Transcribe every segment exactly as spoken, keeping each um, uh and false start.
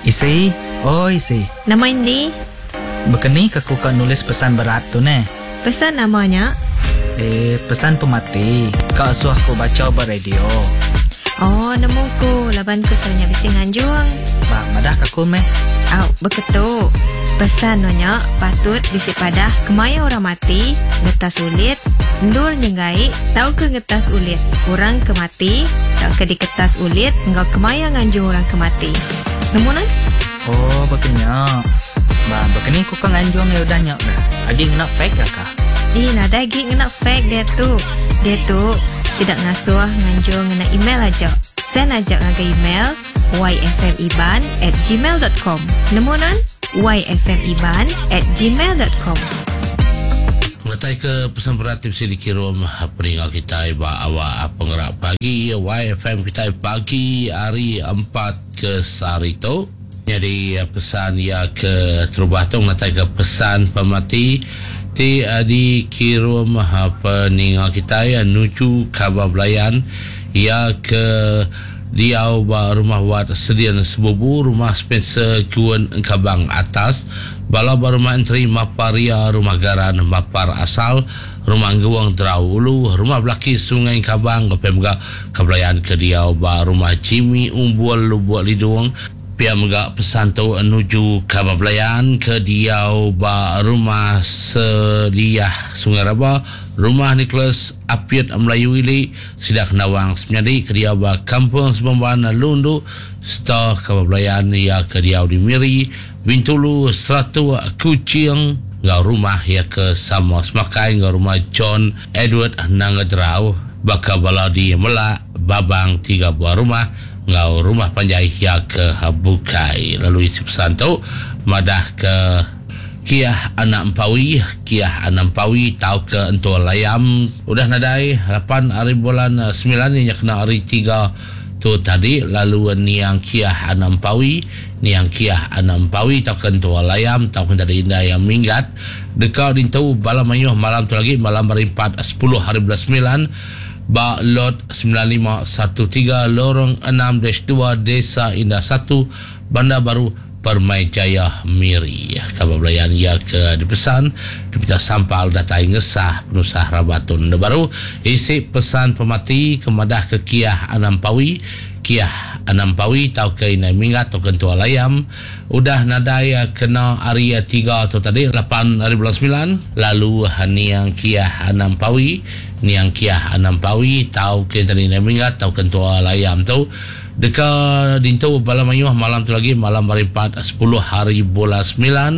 Isi, oi isi. Nama indi? Bekeni ke ku ka nulis pesan berat tu neh? Pesan nama nya? Eh, pesan pemati. Ka asuh ku baca ba radio. Oh, nemu ku laban ku selalunya bisi nganjung. Ba, madah ka ku meh. Au, beketu. Pesan nya patut bisi padah kemaya orang mati, ngetas ulit, endur nyenggai, tau ke ngetas ulit. Orang ke mati, tau ke diketas ulit, enggau kemaya nganjung orang ke mati. Nemu nan? Oh, bekenya. Ba, bekeni ku ka nganjung ya udah nya dah. Agi ngena fax ke kah? Eh, nadai agi ngena fax dia tu. Dia tu sidak ngasuh nganjung ngena email aja. Send aja ngagai email y f m iban at gmail dot com. Nemu nan? y f m iban at gmail dot com. Mengetai ke pesan berat ti bisi dikirum peninga kita ba awak penggerak pagi Y F M kita pagi hari empat ke sehari tu. Jadi pesan ia ke terubah tu mengetai ke pesan pemati ti dikirum peninga kita nuju kabar belayan ia ke diau ba rumah wat Sedian Sebubu, rumah Spencer Kuan Engkabang Atas, bala ba rumah Enteri Maparia, rumah Garan Mapar Asal, rumah Angguang Drau Ulu, rumah Belaki Sungai Engkabang, Gopem ga kebelayan ke diau ba rumah Jimmy Umbul Lubuk Lidung. Pia mega pesan tu nuju kabar belayan ke diau ba rumah Seliah Sungai Raba, rumah Nicholas Apiat Melayu Ili, Sidak Kenawang Semenyadi ke diau ba Kampung Sebamban Lundu, serta kabar belayan ia ke diau di Miri, Bintulu, Seratuk, Kuching, ngau rumah ia ke sama semakai ngau rumah John Edward Nangadrau, bakal bala di Melak, Babang tiga buah rumah, ngau rumah panjai ia ke Bukai. Lalu isi pesan tu madah ke Kiah anak Empawi, Kiah anak Empawi tau ke entua layam udah nadai lapan hari bulan sembilan ni kena hari tiga tu tadi. Lalu niang Kiah anak Empawi, niang Kiah anak Empawi tau ke entua layam tau ke tadi indah yang minggat dekat dintu bala mayuh malam tu lagi malam hari empat sepuluh hari bulan sembilan ba lot sembilan lima satu tiga lorong enam dash dua Desa Indah satu Bandar Baru Permai Jaya Miri. Kabar belayan ia ke dipesan dipita sampal datai ngesah penusah rabatun baru isi pesan pemati kemadah ke Kiah Anampawi, Kiah Anampawi tau ke inai minggat tau ke entua layam udah nadai kena hari tiga tu tadi lapan hari bulan sembilan. Lalu niang Kiah Anampawi, niang Kiah Anampawi tau ke tadi inai minggat tau ke entua layam tu deka dintu bala mayuh malam tu lagi malam hari empat sepuluh hari bulan sembilan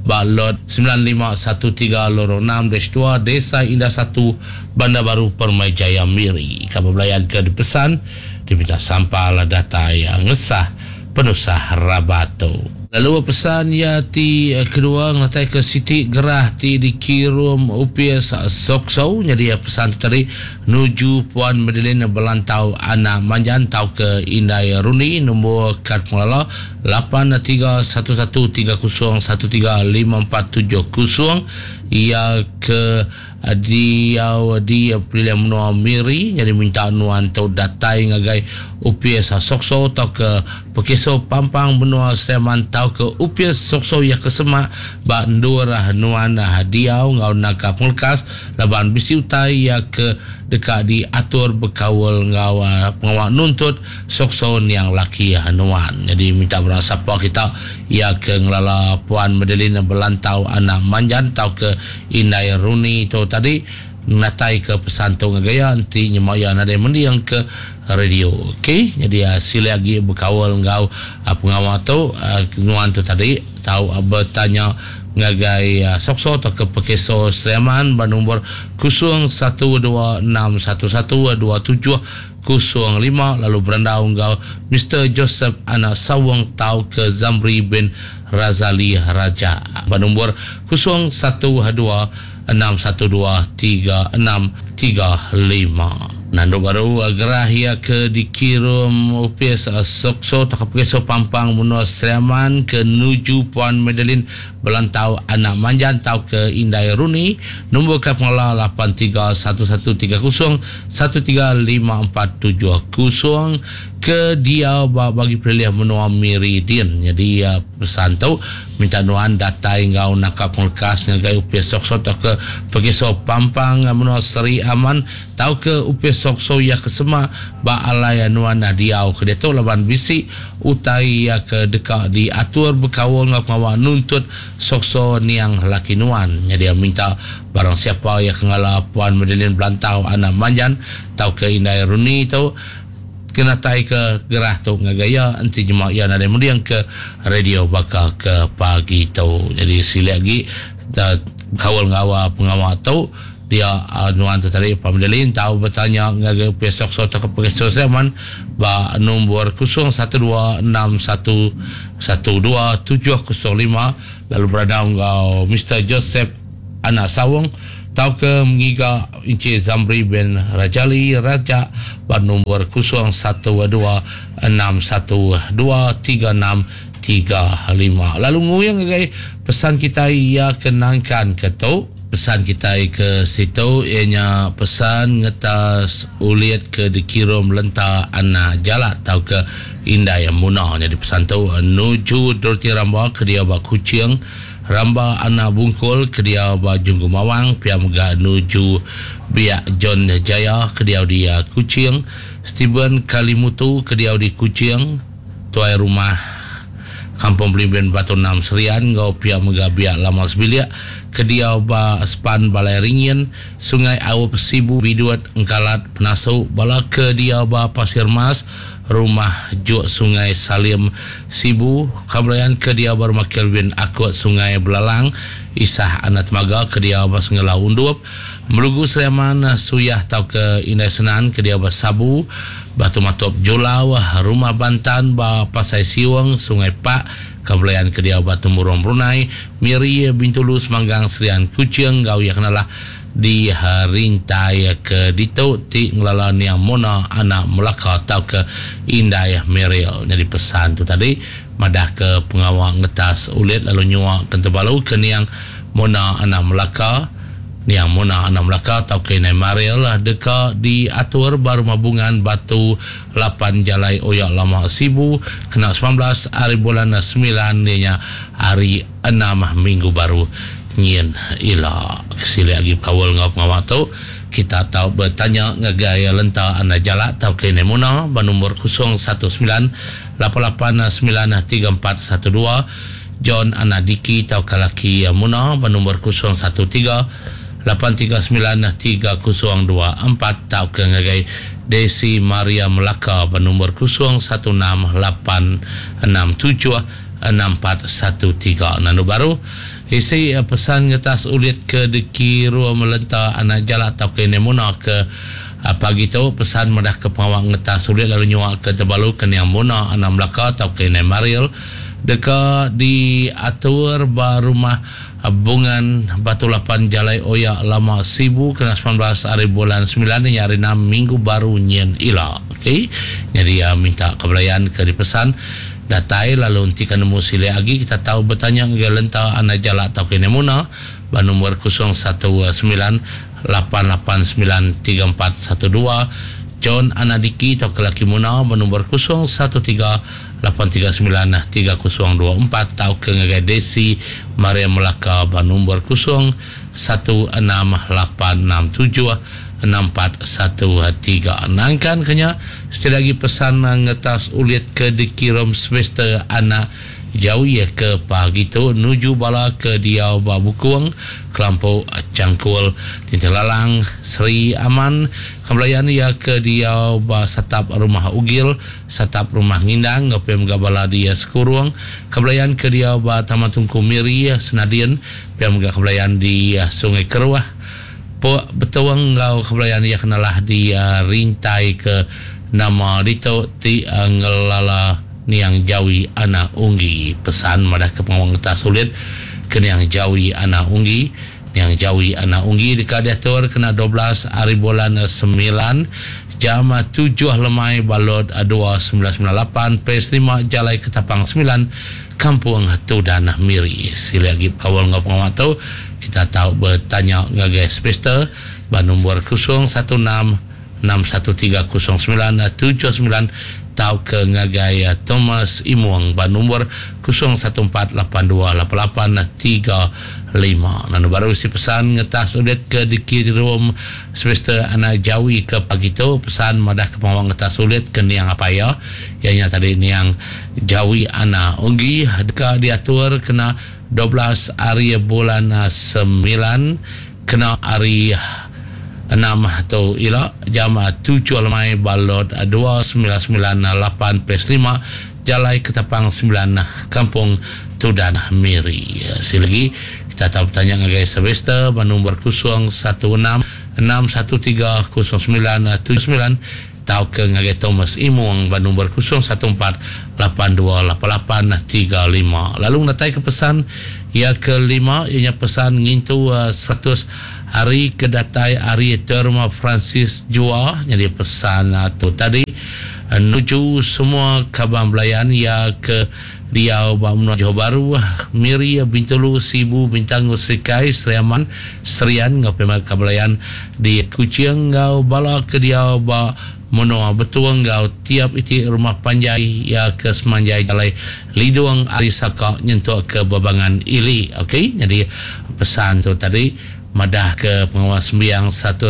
ba lot sembilan lima satu tiga lorong enam dash dua Desa Indah satu Bandar Baru Permai Jaya Miri. Kabar belayan ke dipesan diminta sampal datai ngesah penusah rabato. Lalu pesan ia ti kedua ngatai ke Siti Gerah ti dikirum Upias Sokso. Jadi pesan tu tadi nuju Puan Madeline Belantau anak Manjan tau ke Indai Runi nombor kad pengelala lapan tiga satu satu tiga kosong satu tiga lima empat tujuh kosong ia ke diau di Pilihan Menua Miri. Jadi minta nuan tau datai ngagai Upias Sokso tau ke Pekeso Pampang Benua Sleman tau ke Upias Sokso ya ke semak ba ndur nuan diau ngau naka penglekas laban bisi utai ya ke dekat diatur berkawal ngau pengawal nuntut Sokso niang laki nuan. Jadi minta berang siapa kita ya ke ngelala Puan Madeline Belantau anak Manjan tau ke Indai Runi tu tadi natai ke pesan tu ngagaya anti nyemaya nadai mendiang ke radio. Okey, jadi uh, sila lagi berkawal ngau uh, pengawal tu uh, nuan tu tadi tau uh, bertanya ngagai uh, Sokso atau ke Pekeso Sleman bernombor kosong satu dua enam satu satu dua tujuh kosong lima lalu berandau ngau Mister Joseph anak Sawang tau ke Zamri bin Razali Raja bernombor kosong satu dua enam satu dua tiga enam tiga lima. Nandu baru gerah ia ke dikirim Upias Sokso tak Pekeso Pampang Menua Sleman ke nuju Puan Madeline Belantau anak Manjan tau ke Indai Runi nombor kad pengelola lapan tiga satu satu tiga kosong satu tiga lima empat tujuh kosong ke dia bagi pilih menua Miri din. Jadi uh, pesan tu minta nuan datai ngau nakap penglekas ngagai upis sokso atau ke pergiso pampang menua Seri Aman tau ke upis sokso ya kesema ba alai nuan diau ke dia tu laban bisi utai ya ke deka diatur berkaul ngau pengawa nuntut sokso niang laki nuan. Jadi minta barang siapa yang ngala Puan Madeline Belantau anak Manjan tau ke Indai Runi tu kena tai ke gerah tu ngagaya enti jema ya nadai mendiang ke radio baka ke pagi tu. Jadi sila lagi kawal ngawa pengawa tu dia uh, nuan tu tadi Pak Madeline tahu bertanya ngagai pesok so ke pesok zaman ba nombor kosong satu dua enam satu satu dua tujuh kosong lima lalu berada ngau Mister Joseph Anak Sawung tau ke mengiga Encik Zamri bin Rajali Raja bar nombor kosong satu dua enam satu dua tiga enam tiga lima. Lalu nguyang ngagai pesan kita ia kenangkan ke tu pesan kita ke situ ianya pesan ngetas ulit ke dikirim lenta anak jalak tau ke Indai Muna. Jadi pesan tu nuju Dorothy Ramba ke dia ba Kuching, Ramba anak Bungkul ke dia ba Junggu Mawang, pia mega nuju Biak John Jaya ke dia di Kuching, Steven Kalimutu ke dia di Kuching, tuai rumah Kampung Belimbin Batu Enam Serian ngau pia mega Biak Lama Sebilik ke dia ba Span Balai Ringin, Sungai Awap Sibu Biduat Engkalat Penasu bala ke dia ba Pasir Mas, Rumah Juk Sungai Salim Sibu, Kamlayan ke dia ba Rumah Kelvin Akut Sungai Belalang, Isah Anak Temaga ke dia ba Sengelau Undup, Melugu Seriaman Suyah tau ke Indai Senan ke dia ba Sabu, Batu Matop Julau, Rumah Bantan ba Pasai Siwang, Sungai Pak, Kamlayan ke dia ba Temurung Brunei, Miri Bintulu Semanggang Serian Kuching gau yang kenalah di rintai ke dito ti ngelala niang Mona anak Melaka atau ke Indai Meril. Jadi pesan tu tadi madah ke pengawal ngetas ulit lalu nyua kentebalu ke niang Mona anak Melaka, niang Mona anak Melaka atau ke Indai Meril lah deka diatur baru mabungan Batu lapan Jalai Oyak Lama Sibu kena sembilan belas hari bulan sembilan nya hari enam minggu baru ngin ila. Kesili lagi kawal ngau pengawal tu kita tahu bertanya ngagai lenta anda jalak tau ke Nemuna bernombor kosong satu sembilan lapan lapan sembilan tiga empat satu dua, John Anadiki tau kalaki Muna bernombor kosong satu tiga lapan tiga sembilan tiga kosong dua empat tau ke ngagai Desi Maria Melaka bernombor kosong satu enam lapan enam tujuh enam empat satu tiga. Nanu baru isi pesan ngetas ulit ke dikiru melenta anak jalak atau ke Nemuna ke pagi tu pesan madah ke pengawal ngetas ulit lalu nyuak ke Tebalu ke Niang Muna anak Melaka atau ke Indai Mariel deka diatur ba rumah Bungan Batu Lapan Jalai Oyak Lama Sibu kena sembilan belas hari bulan sembilan ni hari enam minggu baru nyen ila. Okey. Jadi uh, minta kebelayan ke dipesan datai lalu nanti kan nemu sila lagi kita tahu bertanya ke lenta anak jalak atau ke Nemuna ba nombor kosong satu sembilan lapan lapan sembilan tiga empat satu dua, John Anadiki atau ke laki Muna ba nombor kosong satu tiga lapan tiga sembilan tiga kosong dua empat atau ke ngagai Desi Maria Melaka ba nombor kosong satu enam lapan enam tujuh enam empat satu tiga. Nangkan kenya sekali lagi pesan ngetas ulit ke dikirim semester anak jauh ya ke pagi tu nuju bala ke diau ba Bukung Kelampu Cangkul Tintelalang Seri Aman kembalian ya ke diau ba Satap Rumah Ugil Satap Rumah Ngindang ngepem gabala dia Sekurung kembalian ke diau ba Taman Tungku Miri Senadian pem kembalian di Sungai Keruah Po betuang ngau kebelayan ia kenalah di uh, rintai ke nama dito ti uh, ngelala niang Jawi anak Unggi. Pesan madah ke pengawang ngetas sulit ke niang Jawi anak Unggi. Niang Jawi anak Unggi dekat diatur kena dua belas hari bulan sembilan jam tujuh lemai balot dua sembilan sembilan lapan P S lima Jalai Ketapang sembilan Kampung Tudan Miri. Sila lagi kawal ngau pengawal tu kita tahu bertanya ngagai Spester ba nombor kosong satu enam enam satu tiga kosong sembilan tujuh sembilan Tau ke ngagai Thomas Imong ba nombor kosong satu empat lapan dua lapan lapan tiga lima. Lalu baru si pesan ngetas ulit ke dikirim semester anak Jawi ke pagi tu, pesan madah ke pengawang ngetas ulit ke niang apa ya. Ianya tadi niang Jawi Ana Unggi deka diatur kena dua belas hari bulan sembilan kena hari enam tu ila jam tujuh lemai balot dua sembilan sembilan lapan pes lima Jalai Ketapang sembilan Kampung Tudan Miri. Sekali lagi kita tahu bertanya ngagai Sylvester ba nombor kosong satu enam enam satu tiga kosong sembilan tujuh sembilan tau ke ngagai Thomas Imong ba nombor kosong satu empat lapan dua lapan lapan tiga lima. Lalu natai ke pesan ia kelima ianya pesan ngintu, uh, seratus hari kedatai hari Terma Francis Jua. Jadi pesan, uh, tu tadi, uh, nuju semua kabang belayan ia ke Riau, Bamno, Johor Bahru, Miri, Bintulu, Sibu, Bintang, Serikai, Seriaman, Serian, ngau pema kabelayan di Kuching, ngau bala ke Riau, ba Menoa Betuang, ngau tiap iti rumah panjai ya ke Semanjai Jalai Lidung Ari Saka nyentuk ke Babangan Ili. Okey, jadi pesan tu tadi madah ke pengawas sembiang satu